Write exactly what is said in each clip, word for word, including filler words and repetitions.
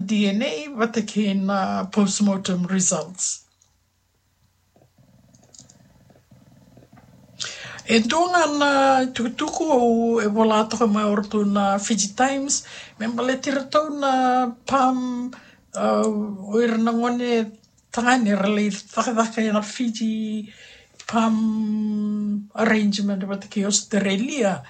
D N A vata kei na postmortem results. E dua ga na tukutuku au e vola toka mai o ratou na Fiji Times me baleti ratou na PALM, o ira na gone tagane era lai cakacaka ena Fiji PALM arrangement vata kei Australia.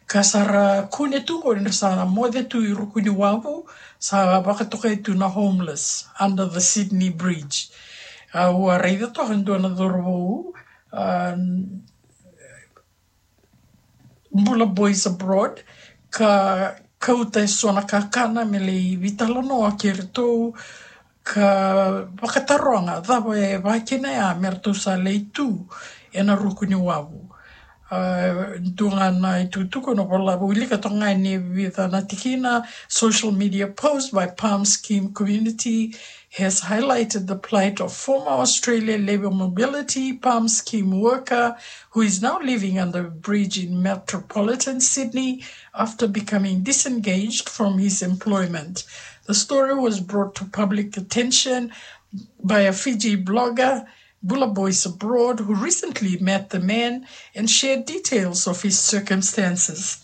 Ka sa ra kune tu qo ni ra sa moce tu i ruku ni wavu, sa vakatokai tu na homeless under the Sydney Bridge. Au a raica toka e dua na cauravou, a, Bula Boys Abroad, ka kauta e so na kakana me lai veitalanoa kei ratou, ka vakataroga cava e vakina ya me ratou sa lai tu ena ruku ni wavu. A, dua ga na itukutuku na vola, wilika toka ga ni vica na tikina. Social media post by PALM scheme community has highlighted the plight of former Australia Labour Mobility PALM scheme worker who is now living under a bridge in metropolitan Sydney after becoming disengaged from his employment. The story was brought to public attention by a Fiji blogger, Bula Boys Abroad, who recently met the man and shared details of his circumstances.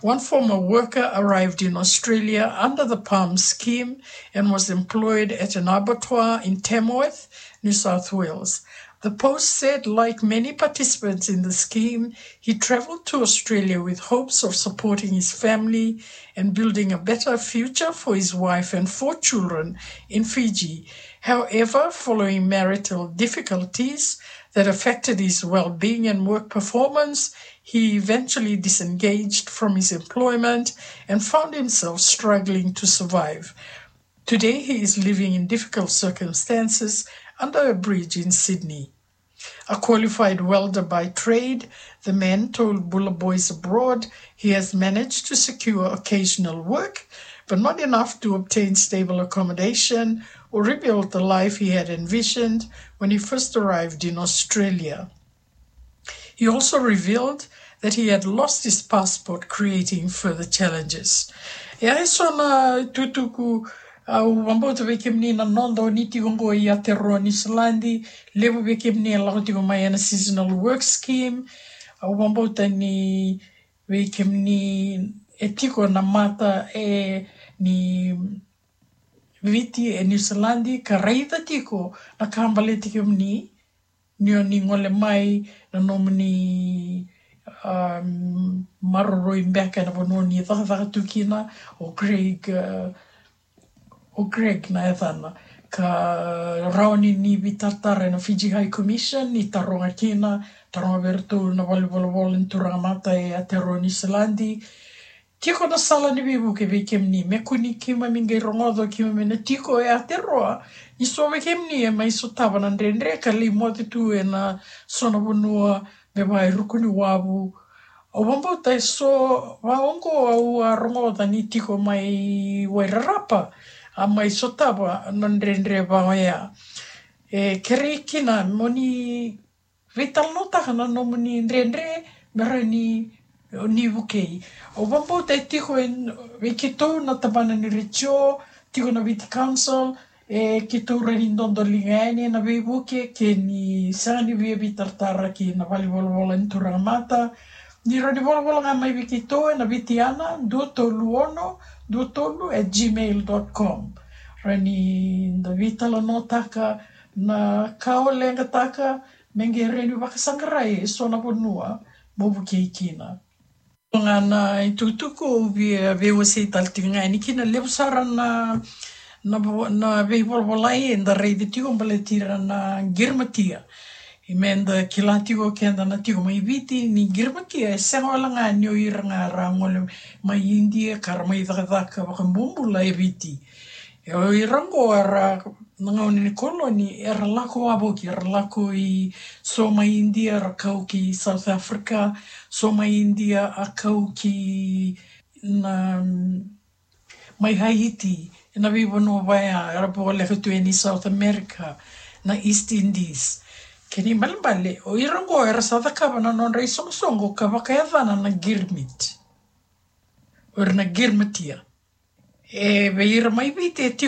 One former worker arrived in Australia under the PALM scheme and was employed at an abattoir in Tamworth, New South Wales. The post said, like many participants in the scheme, he travelled to Australia with hopes of supporting his family and building a better future for his wife and four children in Fiji. However, following marital difficulties that affected his well-being and work performance, he eventually disengaged from his employment and found himself struggling to survive. Today, he is living in difficult circumstances under a bridge in Sydney. A qualified welder by trade, the man told Bula Boys Abroad he has managed to secure occasional work, but not enough to obtain stable accommodation or rebuild the life he had envisioned when he first arrived in Australia. He also revealed that he had lost his passport, creating further challenges. E a e so na tukutuku, au vabauta vei kemuni na noda o ni tiko qo i Aotearoa Niusiladi, levu vei kemuni e lako tiko mai ena seasonal work scheme. Au vabauta ni vei kemuni e tiko na mata e ni Viti e Niusiladi ka raica tiko na ka baleti kemuni, ni o ni gole mai na nomuni, um, maroroi beka ena vanua ni cakacaka tu kina. O Craig, uh, o Craig na yacana, ka rawa ni ni veitaratara ena Fiji High Commission, ni taroga kina, taroga vei iratou na valenivolavola ni turaga mata e Aotearoa Niusiladi. Tiko na sala ni veivuke vei kemuni, me kua ni keimami qai rogoca o keimami na tiko e Aotearoa. Ni so vei kemuni e mai sotava na dredre ka lai moce tu ena so na vanua me vaka e ruku ni wavu. Au vabauta e so vaka oqo au a rogoca ni tiko mai Wairarapa a mai sotava na dredre vaka oya. E kerei kina mo ni veitalanoataka na nomuni dredre me rawa ni, ni vukei. Au vabauta e tiko e, vei keitou na tabana ni retio, tiko na Viti Council, e keitou rawa ni dodoliga yani ena veivuke ke ni sega ni via veitaratara ki na valenivolavola ni turaga mata. Ni rawa ni volavola ga mai vei keitou ena Viti Ana dua tolu ono dua tolu at gmail dot com. Rawa ni da veitalanoataka na ka o leqataka, me qai rawa ni vakasaqarai e so na vanua mo vukei kina. Ga na itukutuku au via veiwasei tale tiko ga yani kina, levu sara na, na vo-, na veivolavolai eda raica tiko baleti ira na qirimatia. Ia meda kila tiko keda na tiko mai Viti ni qirimatia e sega wale ga ni o ira ga ra gole mai Idia ka ra mai cakacaka vakabobula e Viti. E o ira oqo era na gauna ni koloni era lako wavoki, era lako i so mai Idia ra kau ki South Africa, so mai Idia a kau ki na, mai Haiti, ena veivanua vaya era voleka tu yani South America, na East Indies. Kena ibalebale, o ira oqo era sa cakava na nodra isoqosoqo ka vakayacana na girimiti. O ira na girimatia. E vei ira mai Viti e tiko